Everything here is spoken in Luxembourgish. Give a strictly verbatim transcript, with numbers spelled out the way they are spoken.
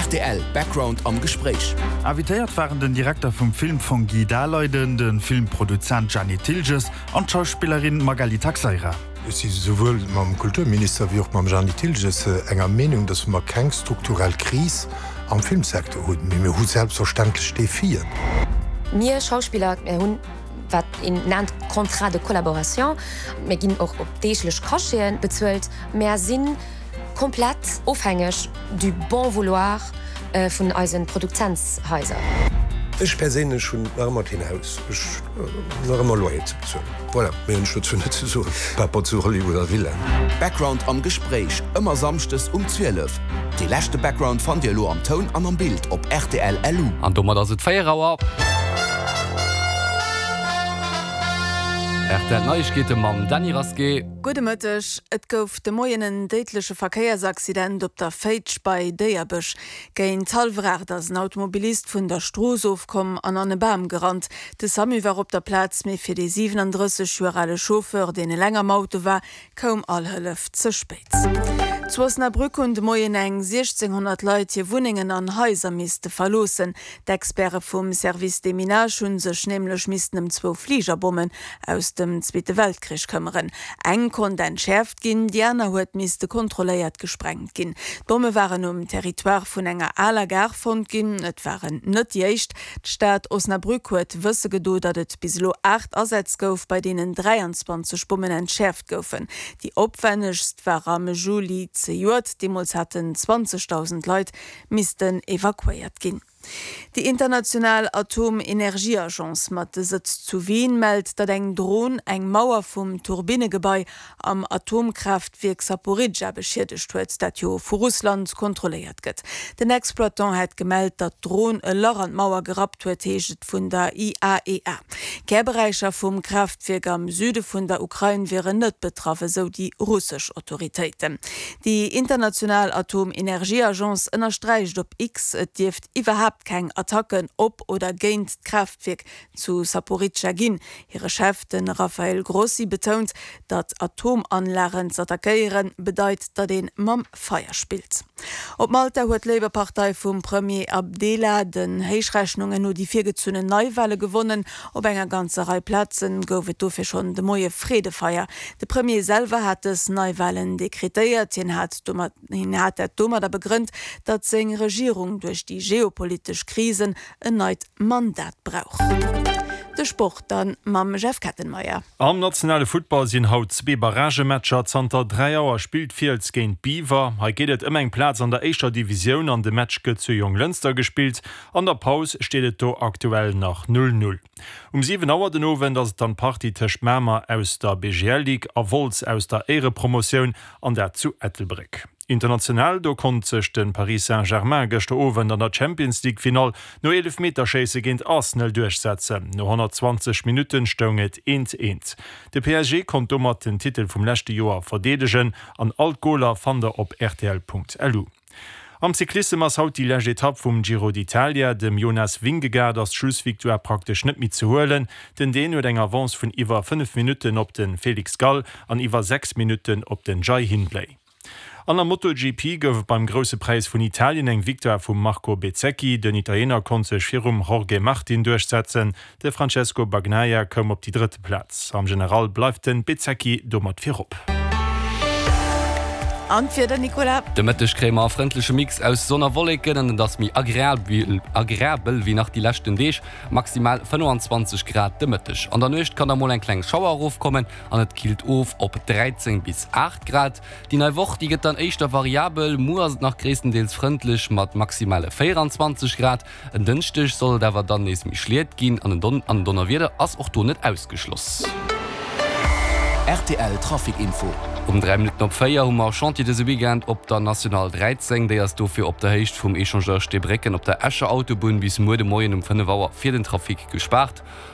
Rtl Background am Gespréich. Invitéiert waren den Direkter vum Filmfong Guy Daleiden, de Filmproduzent Jeanny Thilges an d'Schauspillerin Magali Taxeira. Ech si souwuel mam Kulturminister wéi och mam Jeanny Thilges enger Meenung, datt mer keng strukturell Kris am Filmsecteur hunn, mee mir hu selbstverständlech Defien. Mir Schauspiller, mir hunn wat een nennt Contrat de collaboration, mir ginn och op deeglech Cacheten bezuelt, mär si komplett ofhängeg du bon vouloir vun eise Produzentshaiser. Ech perséinlech hunn nach ëmmer keen Haus, ech hunn nach ëmmer Loyer ze bezuelen. Voilà, méi hunn ech dozou net ze soen, par rapport zu Hollywood a Villaen. Background am Gespréich, ëmmer samschdes um zwielef. Dee leschte Background fannt Dir elo am Toun an am Bild op rtl LU. An domat ass et véier Auer. Rtl Neiegkeete mam Dany Rasqué. Gudde Mëtteg. Et gouf de Moien en déidleche Verkéiersaccident op der Féitsch bei Déierbech. Géint hallwer aacht ass en Automobilist vun der Strooss ofkomm an an e Bam gerannt. De Samu war op der Plaz, mee fir dee siwenandrësseg Joer ale Chauffeur, deen eleng am Auto war, koum all Hëllef ze spéit. Zu Osnabrück hunn de Moien eng siechzénghonnert Leit hir Wunnengen an Haiser misste verloossen. D'Experte vum Service Déminage hu sech nämlech missten ëm zwou Fligerbommen aus dem Zweete Weltkrich këmmeren. Eng konnt entschäerft ginn, déi aner huet misste kontrolléiert gesprengt ginn. D'Bomme waren um Territoire vun enger aler Gare fonnt ginn. Et waren net déi éischt. D'Stad Osnabrück huet wësse gedo, datt et bis elo aacht Asätz gouf, bei deenen dräianzwanzeg Bommen entschäerft goufen. Déi opwännegst war am Juli zejoert. Deemools haten zwanzegdausend Leit missten evakuéiert ginn. Déi international Atomenergieagence mat Sëtz zu Wien mellt, datt eng Dron eng Mauer vum Turbinnegebai am Atomkraaftwierk Saporidscha beschiedegt huet, dat jo vu Russland kontrolléiert gëtt. Den Exploitant hätt gemellt, datt d'Dron e Lach an d'Mauer gerappt huet, heescht et vun der I A E A. Kärberäicher vum Kraaftwierk am Süde vun der Ukrain wieren net betraff, esou déi russesch Autoritéiten. Déi international Atomenergieagence ënnersträicht op X, et dierft iwwerhaapt keng Attacken op oder géint d'Kraaftwierk zu Saporidscha ginn. Hire Chef, de Rafael Grossi, betount, datt Atomanlagen z'attackéiere bedeit, datt ee mam Feier spillt. Op Malta huet d'Labour-Partei vum Premier Abela den Héichrechnungen no déi virgezunnen Neiwale gewonnen. Op enger ganzer Rei Plaze gouf et dofir schonn de Moie Freedefeier. De Premier selwer hat dës Neiwalen dekretéiert. Hien hat domat hien hat dat domadder begrënnt, datt seng Regierung duerch déi geopolitesch Krisen en neit Mandat brauch. De Sport dann mam Jeff Kettenmeyer. Am nationale Futtball sinn haut zwee Barragematcher. Zanter dräi Auer spillt Fiels géint Biwer. Hei geet et ëm eng Plaz an der éischter Divisioun an de Match gëtt zu Jonglënster gespillt. An der Paus steet et do aktuell nach null null. Um siwen Auer den Owend ass et dann d'Partie tëscht Mamer aus der B G L Ligue a Wolz aus der Éierepromotioun an dat zu Ettelbréck. International, do konnt sech de Paris Saint-Germain gëschter Owend an der Champions League Finall no Eelefmeterschéisse géint Arsenal duerchsetzen. No honnertzwanzeg Minutten stoung et eent eent. De P S G konnt domat den Titel vum leschte Joer verdeedegen an all d'Goler fannt der op rtl Punkt L U. Am Cyclissem ass haut déi lescht Etapp vum Giro d'Italia. Dem Jonas Vingegaard ass d'Schlussvictoire praktesch net méi ze huelen. Den Dän huet eng Avance vun iwwer fënnef Minutten op de Felix Gall an iwwer sechs Minutten op den Jai Hindley. An der MotoGP gouf et beim Grousse Präis vun Italien eng Victoire vum Marco Bezzecchi. Den Italiener konnt sech virum Jorge Martin duerchsetzen. De Francesco Bagnaia koum op déi drëtte Plaz. Am General bleift de Bezzecchi domat virop. An d'Wieder, Nicolas? De Mëtteg kréie mer e frëndleche Mix aus Sonn a Wolleken an et ass méi agreabel wéi nach déi leschten Deeg, maximal fënnefanzwanzeg Grad de Mëtteg. An der Nuecht kann da mol eng kleng Schauer erofkommen an et killt of op dräizéng bis aacht Grad. Déi nei Woch, déi gëtt dann éischter variabel, muer ass et nach gréisstendeels frëndlech mat maximale véieranzwanzeg Grad, en Dënschdeg soll et awer dann nees méi schliet ginn an en Donnerwieder ass och do net ausgeschloss. Rtl Trafic Info. Um dräi Minutten op véier hu mer Chantier dëse Weekend op der National dräizéng. Déi ass dofir op der Héicht vum Echangeur Steebrécken op der Escher Autobunn bis muer de Moien um fënnef Auer fir den Trafic gespaart.